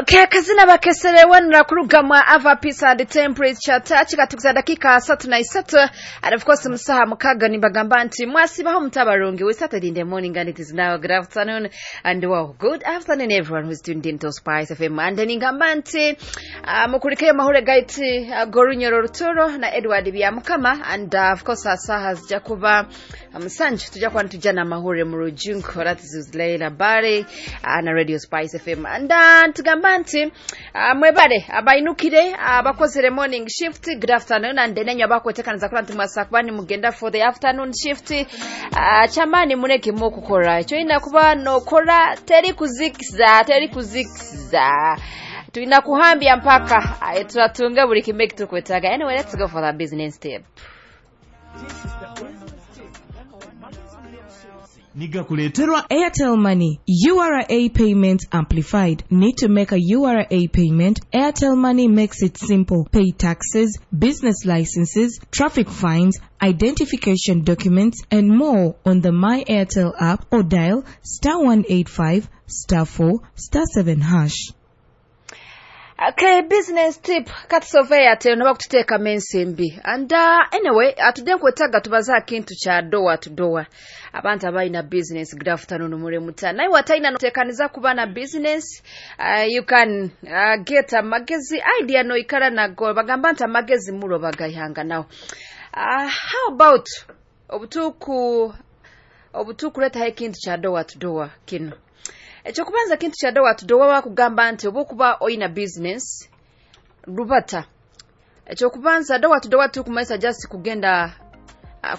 Okay, kazina bakeserewanira kurugamwa Ava Peace and Temperature Touch katukuza dakika 33, and of course musaha mukaga nibagamba nti mwasibaho mutabarungi. We started in the morning and it is now good afternoon, and wow, good afternoon everyone who's tuned in to Spice FM. And ningamba nti mukurikeyo mahure gaiti Gorunyoro Ruturo na Edward Byamukama, and of course asaha zijja kuba musanju tujja kuba nitujja mahure mu rujunko. That is Leila Bari na Radio Spice FM. And tugamba nti mwebale abainukire abakozere morning shift, good afternoon, and nenyo abakwetekaniza kula nti mwasa kuba nimugenda for the afternoon shift. Chamani muneke mukukora ekyo ina kuba nokora teri kuzikiza, teri kuzikiza, tulina kuhambya mpaka turatunga buli kimwe kitukwetaga. Anyway, let's go for the business tip. Nigakuleterwa Airtel Money URA Payment Amplified. Need to make a URA payment? Airtel Money makes it simple. Pay taxes, business licenses, traffic fines, identification documents, and more on the My Airtel app or dial *185 *4 *7#. Okay, business tip katusove ate noba kututeekamu ensimbi. And anyway, atudde nkwetaaga tubaze akintu kya door to door. Abantu abalina business, good afternoon mulemuta. Naye watalina noteekaniza kuba na business, you can get amagezi idea noikara nago bagamba nti amagezi mulo bagayihanga nawo. How about obutuuku obutuukuleetaho ekintu kya door to door kino. Ekyokubanza kintu kya door to door bakugamba nti oba okuba oyina business rubata. Ekyokubanza door to door tukumanyisa just kugenda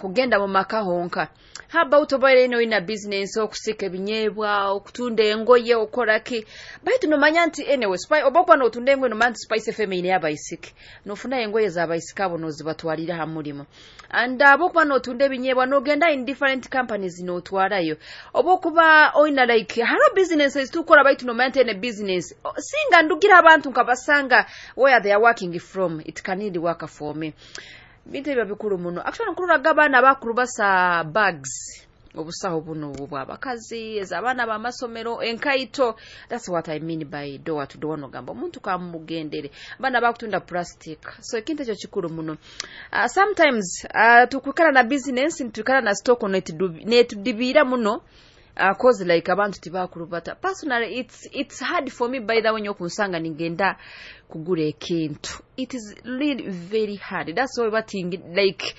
kugenda mu maka honka. How about oba eno oyina business okusika ebinyeebwa, okutunda engoye, okola ki? Baitu nomanya nti anyway, oba okuba n'otunda engoye nomanya nti Spice FM ine y'abaisiki. Nofuna engoye z'abaisiki abo n'ozibatwalira ha mulimu. And oba okuba n'otunda ebinyeebwa n'ogenda in different companies n'otwalayo. Oba okuba oyina like haro businesses tukola baitu nomanya nti ene business. Singa ndugira abantu nkabasanga where they are working from, it can really work for me. Bintu ebyo bikulu muno. Actually nkuluraga abaana bakulu basa bags. Obusawo buno obw'abakazi, ez'abaana b'amasomero, enkaito. That's what I mean by door to door nogamba omuntu kamugendere. Abaana bakutunda plastic. So ekintu ekyo kikulu muno. Sometimes tukwikala na business, nituikala na stock netudibira muno. Cause like abantu tibakulubata. Personally, it's hard for me by the way nyokunsanga ningenda kugura ekintu. It is really very hard. That's why batingi like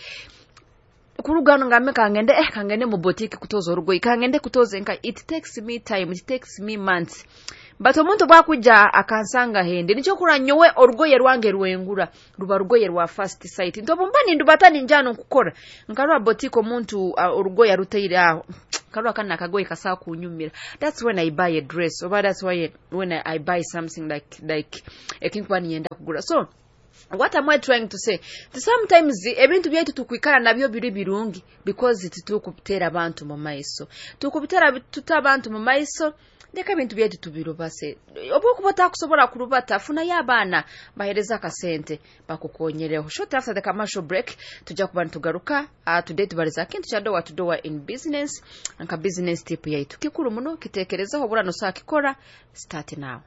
kurugano ngambe kangende kangende mu boutique kutoza orugoyi, kangende kutoza enka. It takes me time, it takes me months. But omuntu bwakujja akansanga hende nikyo kura nyowe orugoye rwange rwengura ruba rugoye rwa first sight. Ntobumba nindubata ninjano nkukora nkarwa boutique omuntu orugoye aruteire aho karwa kana akagoye kasawa kunyumira. That's when I buy a dress, oba that's why when I buy something like ekinkuba niyenda kugura. So what am I trying to say? Sometimes ebintu byaitu tukwikara nabyo biri birungi because titukubitera abantu mu maiso. Tukubitera tuta abantu mu maiso ndeka ebintu byaitu tubirubase. Oba okuba otakusobola kurubata funayo abaana bahereza akasente bakukonyereho. Short after the commercial break tujja kuba nitugaruka. Today tubariza kintu kya door to door in business nka business tip yaitu kikuru muno kitekerezaho obura nosakikora. Start now.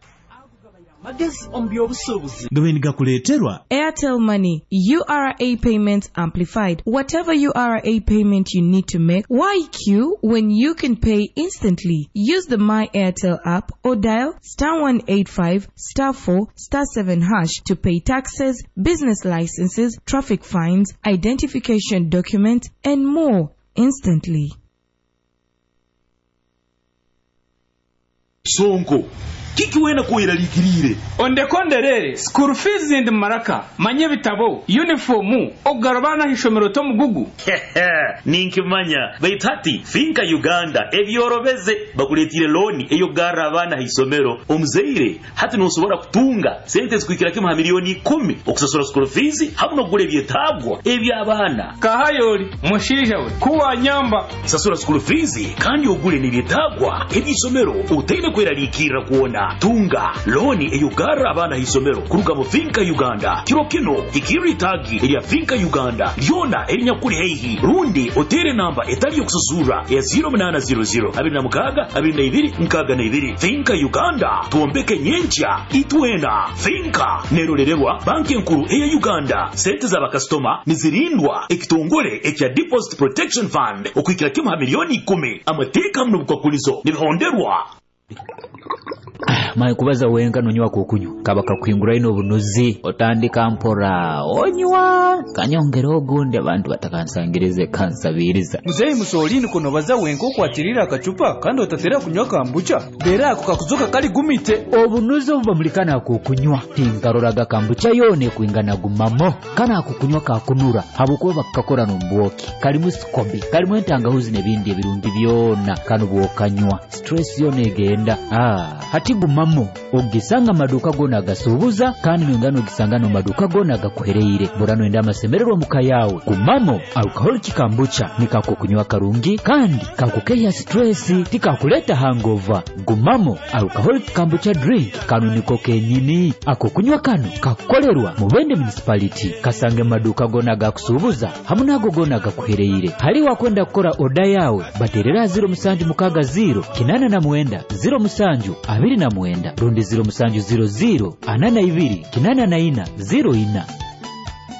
Magezi omu by'obusuubuzi gabe nigakuleeterwa Airtel Money URA Payments Amplified. Whatever URA payment you need to make, why queue when you can pay instantly? Use the My Airtel app or dial *185 *4 *7# to pay taxes, business licenses, traffic fines, identification documents, and more instantly. Sonko kiki wena kuiralikirire ondekonderere school fees ndi maraka manye bitabo uniform ogarabana hishomero to mugugu ninkimanya baitati finka Uganda ebyorobeze bakuletire loni eyo gara abana hisomero omuzeire hati nosobora kutunga sente zikuikira kimu ha milioni 10 okusasura school fees hamwe nokugura ebyetagwa eby'abaana kahayoli mushinja we kuwa nyamba sasura school fees kandi ogule n'ebyetagwa eby'isomero utaine kweralikirira kuona 8. Tunga looni ey'okugarra abaana ha isomero kuruga mu Finka Uganda. Kiro kino hikirra itaagi erya Finka Uganda lyona erinyakuli haihi, rundi oteere namba etali y'okususurra eya 0800 26 22 62. Finka Uganda, twombeke nyenkya itwena. Finka nerolererwa banki enkuru eya Uganda. Sente z'abakasitoma nizirindwa ekitongole ekya Deposit Protection Fund okuhikira kimu ha milioni 10. Amateeka hamu n'obukwakulizo nibihonderwa. Maye kubaza wenka nonywa kokunywa kaba kakuhinguraine obunuzi otandika mpora onywa kanyongera ogundi abantu batakansangirize kansabiriza. Muzeyi Musolini, kunobaza wenka okwatirira akacupa kandi otatera kunywa kambucha dera ako kakuzoka kali gumite. Obunuzi obubamulikana akokunywa tinkaroraga kambucha yona ekwingana gumamo. Kana akokunywa kakunura habwokuba bakakakora n'omubwoki, kalimu sikobi, kalimu entangahuzi n'ebindi ebirungi byona. Kano bwokanywa stress yona egenda. Hati gumamo ogisanga amaduka gona agasuubuza, kandi noingana ogisanga n'omaduka gona agakuhereire. Bora noyenda amasemererwa muka yawe. Gumamo alcoholic kambucha nikakokunywa karungi kandi kakukeya stress, tikakuleta hangover. Gumamo alcoholic kambucha drink kano niko kenyini. Akokunywa kano kakukolerwa Mubende municipality. Kasange maduka gona agakusuubuza hamu nago gona agakuhereire. Hali wakwenda kukora oda yawe baterera 0760 89 07 29 rundi 0700 42 84 04.